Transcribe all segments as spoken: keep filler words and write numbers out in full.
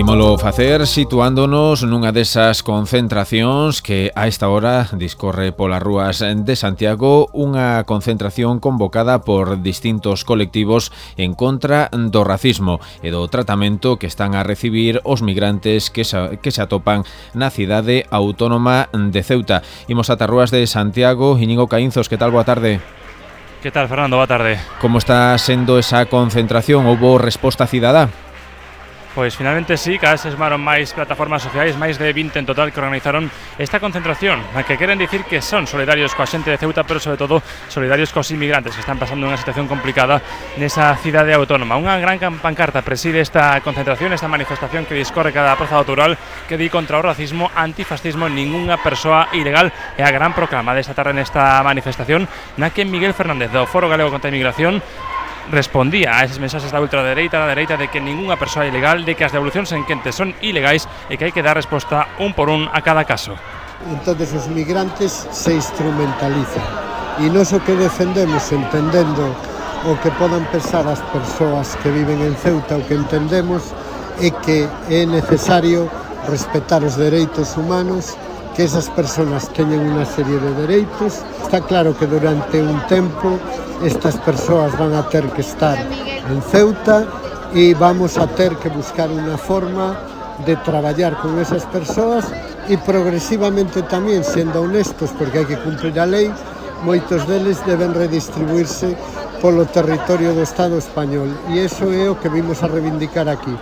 Ímolo facer situándonos nunha desas concentracións que a esta hora discorre polas rúas de Santiago, unha concentración convocada por distintos colectivos en contra do racismo e do tratamento que están a recibir os migrantes que se, que se atopan na cidade autónoma de Ceuta. Imos ata rúas de Santiago. Íñigo Caínzos, que tal? Boa tarde. Que tal, Fernando? Boa tarde. Como está sendo esa concentración? Houbo resposta cidadá? Pois finalmente sí, cada vez se sumaron máis plataformas sociais, máis de vinte en total, que organizaron esta concentración, na que queren dicir que son solidarios coa xente de Ceuta, pero sobre todo solidarios cos inmigrantes que están pasando unha situación complicada nesa cidade autónoma. Unha gran pancarta preside esta concentración, esta manifestación que discorre cada praza do Toural, que di contra o racismo, antifascismo, ningunha persoa ilegal, e a gran proclama desta tarde nesta manifestación, na que Miguel Fernández do Foro Galego contra a Inmigración respondía a eses mensaxes da ultradereita, da dereita, de que ningunha persoa ilegal, de que as devolucións en quente son ilegais e que hai que dar resposta un por un a cada caso. Entonces os migrantes se instrumentalizan e nós o que defendemos, entendendo o que podan pensar as persoas que viven en Ceuta, o que entendemos é que é necesario respetar os dereitos humanos, que esas persoas teñen unha serie de dereitos. Está claro que durante un tempo estas persoas van a ter que estar en Ceuta e vamos a ter que buscar unha forma de traballar con esas persoas e progresivamente tamén, sendo honestos, porque hai que cumprir a lei, moitos deles deben redistribuirse polo territorio do Estado español, e iso é o que vimos a reivindicar aquí.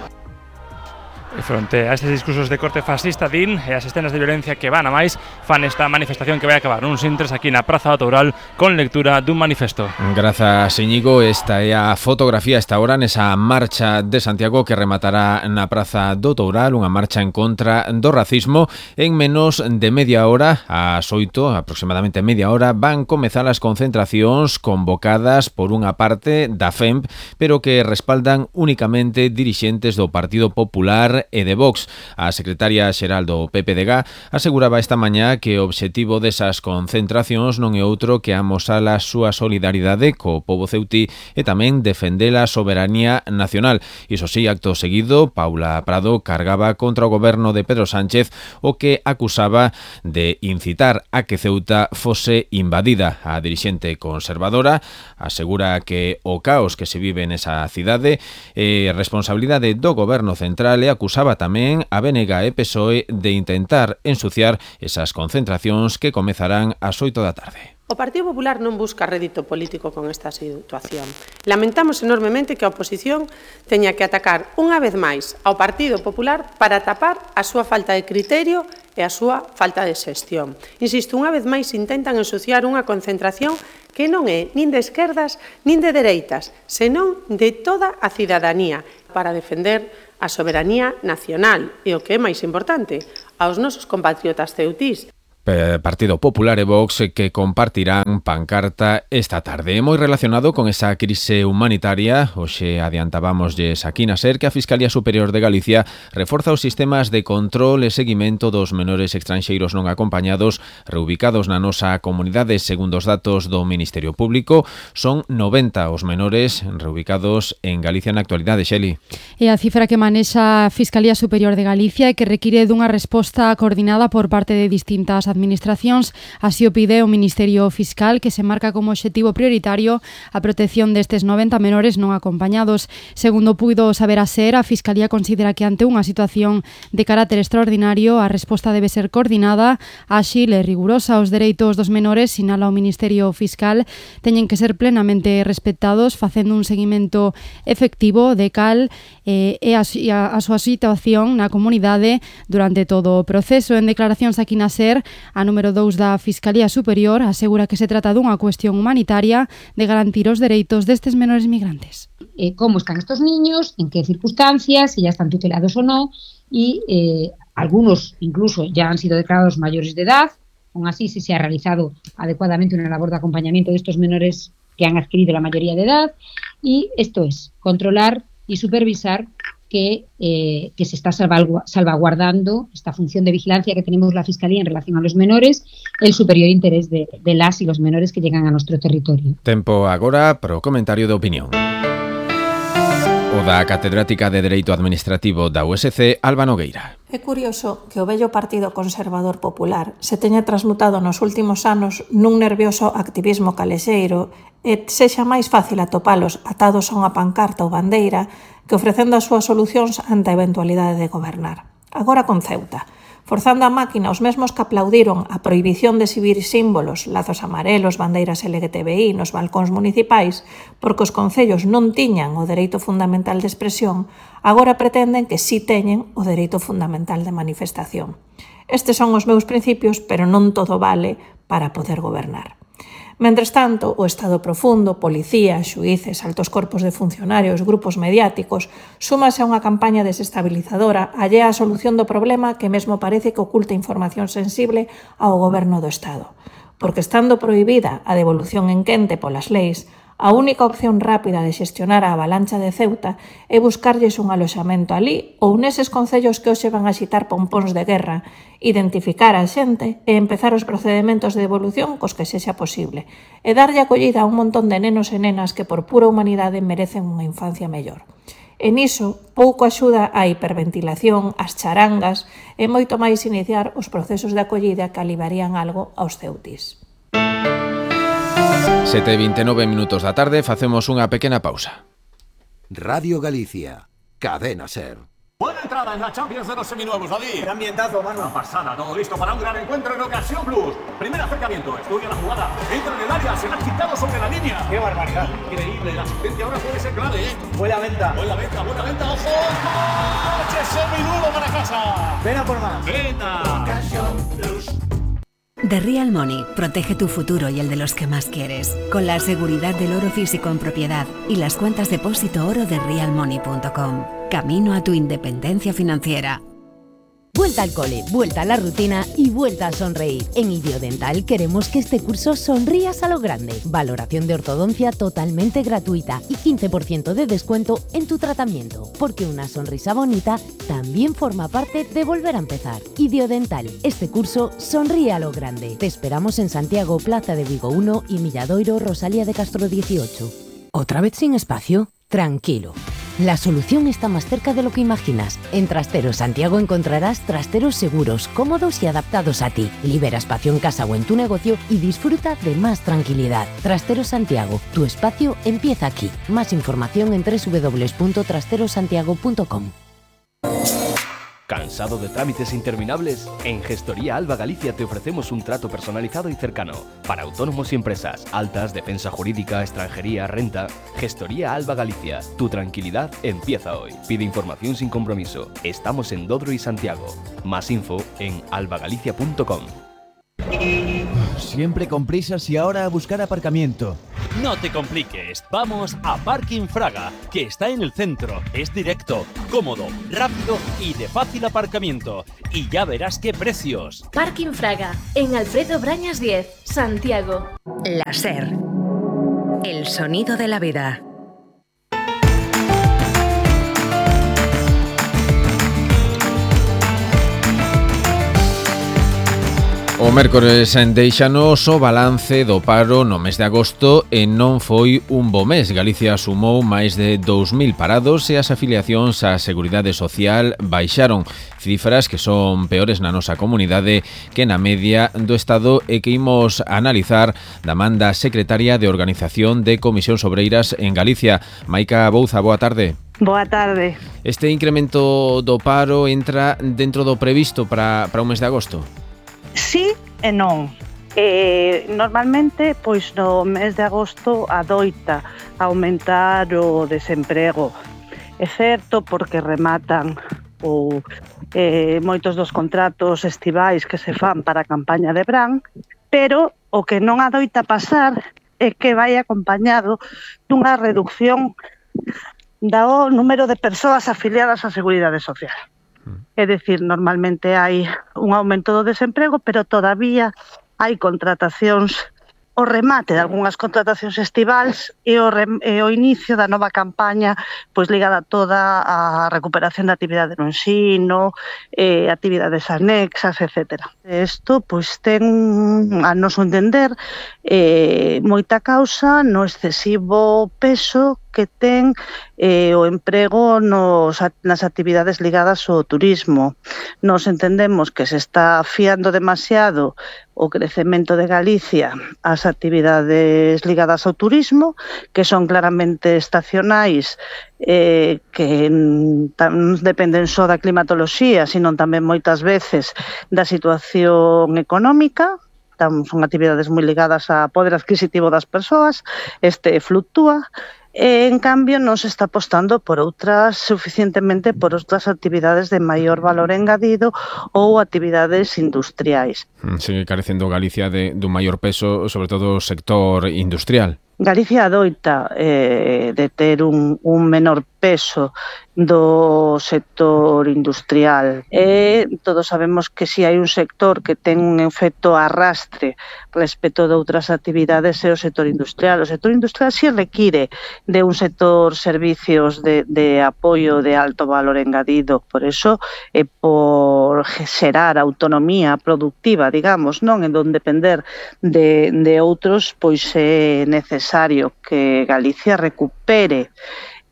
E fronte a estes discursos de corte fascista, din, e as escenas de violencia que van a máis, fan esta manifestación que vai acabar nuns intres aquí na Praza do Toural con lectura dun manifesto. Grazas, Íñigo. Esta é a fotografía esta hora nesa marcha de Santiago que rematará na Praza do Toural, unha marcha en contra do racismo. En menos de media hora, ás oito, aproximadamente media hora, van comezar as concentracións convocadas por unha parte da F E M P, pero que respaldan únicamente dirixentes do Partido Popular e de Vox. A secretaria xeral do P P D G aseguraba esta mañá que o obxectivo desas concentracións non é outro que amosar a súa solidaridade co pobo ceutí e tamén defender a soberanía nacional. Iso sí, acto seguido, Paula Prado cargaba contra o goberno de Pedro Sánchez, o que acusaba de incitar a que Ceuta fose invadida. A dirixente conservadora asegura que o caos que se vive nesa cidade é responsabilidade do goberno central e acusaba tamén a B N G e P S O E de intentar ensuciar esas concentracións que comezarán ás oito da tarde. O Partido Popular non busca rédito político con esta situación. Lamentamos enormemente que a oposición teña que atacar unha vez máis ao Partido Popular para tapar a súa falta de criterio e a súa falta de xestión. Insisto, unha vez máis intentan ensuciar unha concentración que non é nin de esquerdas nin de dereitas, senón de toda a cidadanía para defender a soberanía nacional e, o que é máis importante, aos nosos compatriotas ceutís. Partido Popular e Vox que compartirán pancarta esta tarde. Moi relacionado con esa crise humanitaria, hoxe adiantábamosles aquí na SER que a Fiscalía Superior de Galicia reforza os sistemas de control e seguimento dos menores estranxeiros non acompañados reubicados na nosa comunidade. Segundo os datos do Ministerio Público, son noventa os menores reubicados en Galicia na actualidade. Xeli. E a cifra que manexa a Fiscalía Superior de Galicia e que require dunha resposta coordinada por parte de distintas administracións administracións, así o pide o Ministerio Fiscal, que se marca como obxectivo prioritario a protección destes noventa menores non acompañados. Segundo puido saber a SER, a Fiscalía considera que ante unha situación de carácter extraordinario a resposta debe ser coordinada, áxil e rigurosa. Os dereitos dos menores, sinala o Ministerio Fiscal, teñen que ser plenamente respectados, facendo un seguimento efectivo de cal eh, e a, a, a súa situación na comunidade durante todo o proceso. En declaracións aquí na SER, a número dous da Fiscalía Superior asegura que se trata dunha cuestión humanitaria de garantir os dereitos destes menores migrantes. Eh, como están estos niños, en qué circunstancias, si ya están tutelados o no, y eh, algunos incluso ya han sido declarados mayores de edad, aún así si se ha realizado adecuadamente una labor de acompañamiento de estos menores que han adquirido la mayoría de edad, y esto es controlar y supervisar que, eh, que se está salvaguardando esta función de vigilancia que tenemos la Fiscalía en relación a los menores, el superior interés de, de las y los menores que llegan a nuestro territorio. Tempo agora para o comentario de opinión. O da catedrática de Dereito Administrativo da U S C, Alba Nogueira. É curioso que o vello Partido Conservador Popular se teña transmutado nos últimos anos nun nervioso activismo calexeiro e sexa máis fácil atopalos atados a unha pancarta ou bandeira que ofrecendo as súas solucións ante a eventualidade de gobernar. Agora con Ceuta, forzando a máquina os mesmos que aplaudiron a prohibición de exhibir símbolos, lazos amarelos, bandeiras L G T B I nos balcóns municipais, porque os concellos non tiñan o dereito fundamental de expresión, agora pretenden que sí teñen o dereito fundamental de manifestación. Estes son os meus principios, pero non todo vale para poder gobernar. Mentres tanto, o Estado profundo, policía, xuíces, altos corpos de funcionarios, grupos mediáticos, súmase a unha campaña desestabilizadora allea á solución do problema que mesmo parece que oculta información sensible ao goberno do Estado. Porque estando prohibida a devolución en quente polas leis, a única opción rápida de xestionar a avalancha de Ceuta é buscarlles un aloxamento alí ou neses concellos que hoxe van a xitar pompóns de guerra, identificar a xente e empezar os procedementos de devolución cos que sexa posible e darlle acollida a un montón de nenos e nenas que por pura humanidade merecen unha infancia mellor. E niso, pouco axuda a hiperventilación, as charangas e moito máis iniciar os procesos de acollida que aliviarían algo aos ceutis. sete e vinte e nove minutos da tarde, facemos unha pequena pausa. Radio Galicia, Cadena Ser. Buena entrada en la Champions de los seminuevos, David. Gran ambientazo, mano. Una pasada, todo listo para un gran encuentro en Ocasión Plus. Primer acercamiento, estudia la jugada, entra en el área, se la ha quitado sobre la línea. ¡Qué barbaridad! Increíble, la asistencia ahora puede ser clave, ¿eh? Buena venta. Buena venta, buena venta, ojo. ¡Coche seminuevo para casa! Ven a por más. Venta. Ocasión Plus. The Real Money protege tu futuro y el de los que más quieres, con la seguridad del oro físico en propiedad y las cuentas depósito oro de real money punto com. Camino a tu independencia financiera. Vuelta al cole, vuelta a la rutina y vuelta a sonreír. En Idiodental queremos que este curso sonrías a lo grande. Valoración de ortodoncia totalmente gratuita y quince por ciento de descuento en tu tratamiento. Porque una sonrisa bonita también forma parte de volver a empezar. Idiodental, este curso sonríe a lo grande. Te esperamos en Santiago, Plaza de Vigo uno y Milladoiro, Rosalía de Castro dieciocho. ¿Otra vez sin espacio? Tranquilo. La solución está más cerca de lo que imaginas. En Trasteros Santiago encontrarás trasteros seguros, cómodos y adaptados a ti. Libera espacio en casa o en tu negocio y disfruta de más tranquilidad. Trasteros Santiago, tu espacio empieza aquí. Más información en doble u doble u doble u punto trasteros santiago punto com. ¿Cansado de trámites interminables? En Gestoría Alba Galicia te ofrecemos un trato personalizado y cercano para autónomos y empresas, altas, defensa jurídica, extranjería, renta. Gestoría Alba Galicia, tu tranquilidad empieza hoy. Pide información sin compromiso. Estamos en Dodro y Santiago. Más info en alba galicia punto com. Siempre con prisas y ahora a buscar aparcamiento. No te compliques, vamos a Parking Fraga, que está en el centro, es directo, cómodo, rápido y de fácil aparcamiento. Y ya verás qué precios. Parking Fraga, en Alfredo Brañas diez, Santiago. La Ser, el sonido de la vida. O mércores deixanos o balance do paro no mes de agosto e non foi un bo mes. Galicia sumou máis de dous mil parados e as afiliacións á Seguridade Social baixaron, cifras que son peores na nosa comunidade que na media do Estado e que imos analizar da man da secretaria de Organización de Comisións Obreiras en Galicia. Maica Bouza, boa tarde. Boa tarde. Este incremento do paro entra dentro do previsto para, para o mes de agosto? Sí e non. Eh, normalmente, pois no mes de agosto adoita aumentar o desemprego. É certo porque rematan ou eh, moitos dos contratos estivais que se fan para a campaña de verán, pero o que non adoita pasar é que vai acompañado dunha reducción do número de persoas afiliadas á Seguridade Social. É dicir, normalmente hai un aumento do desemprego, pero todavía hai contratacións, o remate de algunhas contratacións estivais e o, rem, e o inicio da nova campaña pois ligada toda á recuperación da actividade no ensino, eh, actividades anexas, etcétera. Isto pois ten, a noso entender, eh, moita causa no excesivo peso que ten eh, o emprego nos, nas actividades ligadas ao turismo. Nos entendemos que se está fiando demasiado o crecemento de Galicia ás actividades ligadas ao turismo, que son claramente estacionais, eh, que non dependen só da climatoloxía, sino tamén moitas veces da situación económica. Son actividades moi ligadas ao poder adquisitivo das persoas, este fluctúa, e, en cambio, non se está apostando por outras, suficientemente por outras actividades de maior valor engadido ou actividades industriais. Sigue carecendo Galicia de, de un maior peso, sobre todo o sector industrial. Galicia adoita eh, de ter un, un menor peso do sector industrial e todos sabemos que si hai un sector que ten un efecto arrastre respecto de outras actividades é o sector industrial. O sector industrial si require de un sector servicios de, de apoio de alto valor engadido, por eso e por xerar autonomía productiva, digamos, non en non depender de, de outros, pois é necesario que Galicia recupere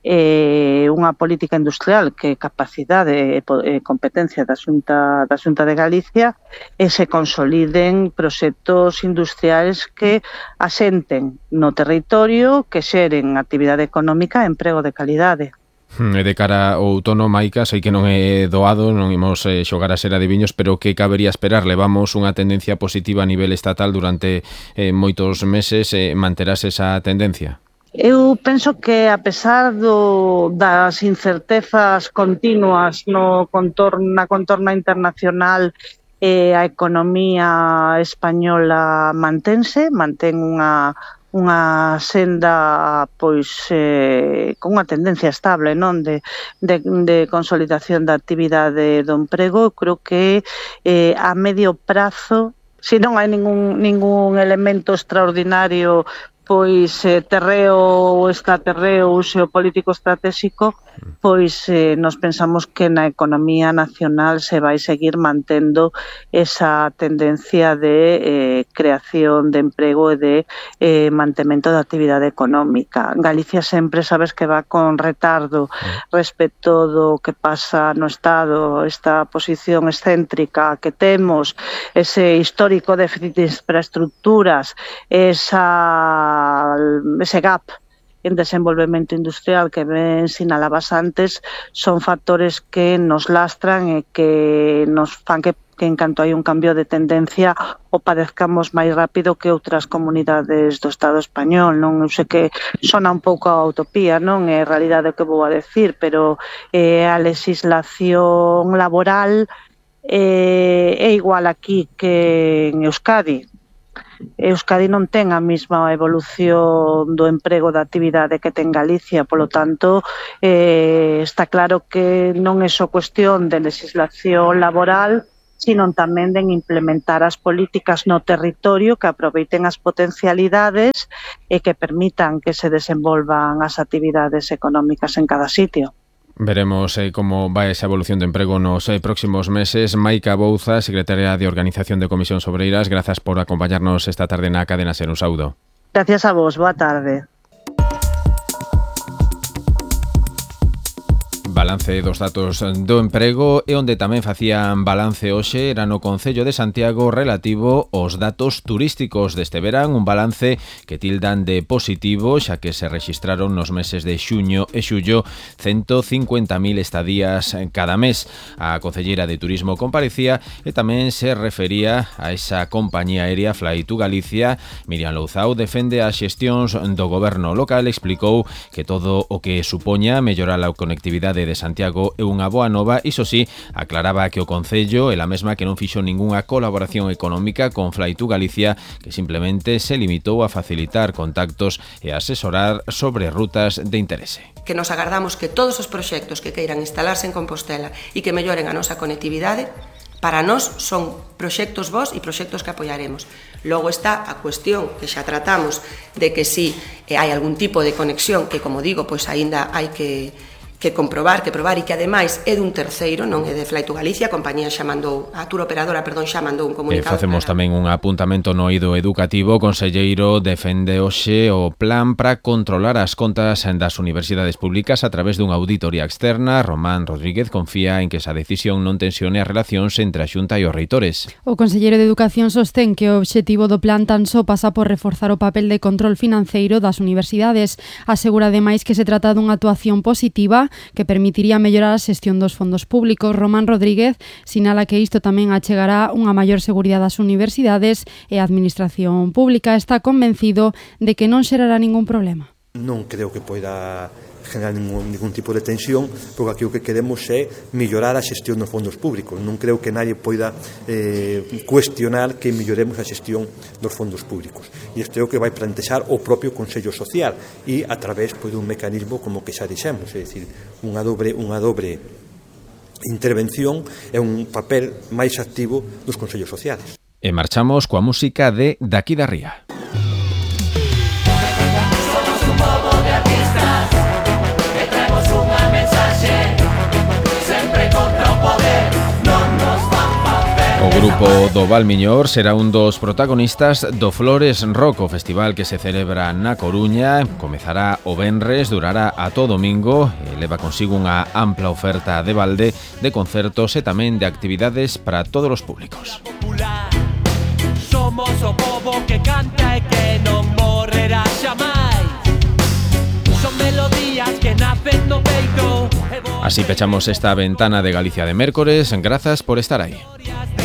eh, unha política industrial que é capacidade e competencia da Xunta, da Xunta de Galicia e se consoliden proxectos industriais que asenten no territorio, que xeren actividade económica e emprego de calidade. E de cara ao outono, Maica, sei que non é doado, non imos eh, xogar a ser adiviños, pero que cabería esperar? Levamos unha tendencia positiva a nivel estatal durante eh, moitos meses, eh, manterás esa tendencia? Eu penso que, a pesar do, das incertezas continuas no contorno, na contorna internacional, eh, a economía española mantense, mantén unha unha senda pois eh, con unha tendencia estable, non, de, de, de consolidación da actividade do emprego. Creo que eh, a medio prazo, se non hai ningún, ningún elemento extraordinario, pois eh, terreo ou extraterreo ou xeopolítico estratégico, pois eh, nos pensamos que na economía nacional se vai seguir mantendo esa tendencia de eh, creación de emprego e de eh, mantemento da actividade económica. Galicia sempre sabes que va con retardo respecto do que pasa no Estado, esta posición excéntrica que temos, ese histórico déficit de infraestructuras, esa, ese gap en desenvolvemento industrial que ben sinalabas antes, son factores que nos lastran e que nos fan que, que en canto hai un cambio de tendencia o padezcamos máis rápido que outras comunidades do Estado español. Non Eu sei que sona un pouco a utopía, non é a realidade que vou a decir, pero eh, a legislación laboral eh, é igual aquí que en Euskadi. Euskadi non ten a mesma evolución do emprego da actividade que ten Galicia, polo tanto, eh, está claro que non é só cuestión de legislación laboral, sino tamén de implementar as políticas no territorio que aproveiten as potencialidades e que permitan que se desenvolvan as actividades económicas en cada sitio. Veremos eh, como vai esa evolución de emprego nos eh, próximos meses. Maica Bouza, secretaria de Organización de Comisións Obreiras, grazas por acompañarnos esta tarde na Cadena Ser. Un saúdo. Gracias a vos, boa tarde. Balance dos datos do emprego e onde tamén facían balance hoxe era no Concello de Santiago relativo aos datos turísticos deste verán, un balance que tildan de positivo xa que se rexistraron nos meses de xuño e xullo ciento cincuenta mil estadías cada mes. A concelleira de Turismo comparecía e tamén se refería a esa compañía aérea Fly to Galicia. Miriam Louzao defende as xestións do goberno local, explicou que todo o que supoña mellorar a conectividade de Santiago é unha boa nova. Iso sí, aclaraba que o Concello é a mesma que non fixo ningunha colaboración económica con Fly to Galicia, que simplemente se limitou a facilitar contactos e asesorar sobre rutas de interese. Que nos agardamos que todos os proxectos que queiran instalarse en Compostela e que melloren a nosa conectividade, para nós son proxectos vos e proxectos que apoiaremos. Logo está a cuestión que xa tratamos de que si hai algún tipo de conexión que, como digo, pois aínda hai que que comprobar, que probar e que ademais é dun terceiro, non é de Flaito Galicia, a compañía xa mandou, a tour operadora, perdón, xa mandou un comunicado. E facemos tamén un apuntamento no eido educativo. O conselleiro defende hoxe o plan para controlar as contas das universidades públicas a través dunha auditoría externa. Román Rodríguez confía en que esa decisión non tensione as relacións entre a Xunta e os reitores. O conselleiro de Educación sostén que o obxectivo do plan tan só pasa por reforzar o papel de control financeiro das universidades. Asegura ademais que se trata dunha actuación positiva que permitiría mellorar a xestión dos fondos públicos. Román Rodríguez sinala que isto tamén achegará unha maior seguridade ás universidades e a administración pública. Está convencido de que non xerará ningún problema. Non creo que poida generar ningún, ningún tipo de tensión, porque aquí o que queremos é mellorar a xestión dos fondos públicos. Non creo que nadie poida eh, cuestionar que melloremos a xestión dos fondos públicos. E isto é o que vai plantexar o propio Consello Social e a través pois, dun mecanismo como que xa dixemos, é dicir, unha dobre, unha dobre intervención e un papel máis activo dos Consellos Sociales. E marchamos coa música de Daqui da Ría. O grupo do Valmiñor será un dos protagonistas do Flores Rock, o festival que se celebra na Coruña. Comezará o venres, durará ata o domingo e leva consigo unha ampla oferta de balde de concertos e tamén de actividades para todos os públicos. Somos o pobo que canta e que non morrerá xamais. Son melodías que nacen no peito. Así pechamos esta ventana de Galicia de mércores. Grazas por estar aí.